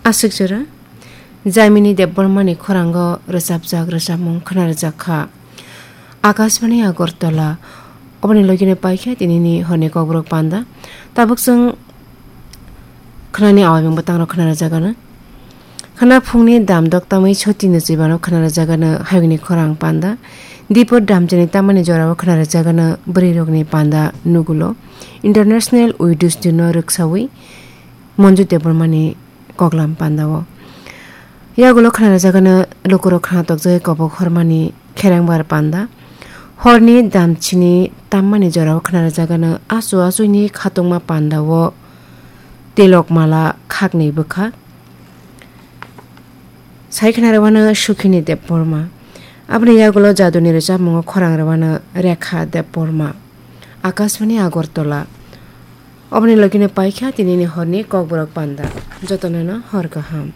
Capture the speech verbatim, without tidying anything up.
Aswk jora, Jamini Debbarmani khorang o rwchapjak rwchapmung khwna rwjak kha. Akashbani Agartala. Oboni logi no paikha tinini horni kokborok panda. Tabuk chwng khwnani awai mung bwtang rok khwna rwjak ano. Khwna phungni dam dok tamwi choti no chibano khwna rwjak ano hayungni khorang panda. Dipor damchani tamani jorao khwna rwjak ano bwrwi rokni panda nugulo. International Widows Day no rwksawi Manju Debbarmani koklam panda o. Yagulo khwna rwjak ano lukurok khwna tokjagwi kobok hormani kherengbar panda. Horni damchini tammani jorao khwna rwjak ano achu achuni khatungma panda o tilok mala khakni bwkha. Sai khwna rwano Sukhini Debbarma. Aboni yagulo jaduni rwchapmungo khorang rwano Rekha Debbarma. Akashbani Agartala. Oboni logi no paikha tinini horni kokborok panda. Jotono no hor kaham.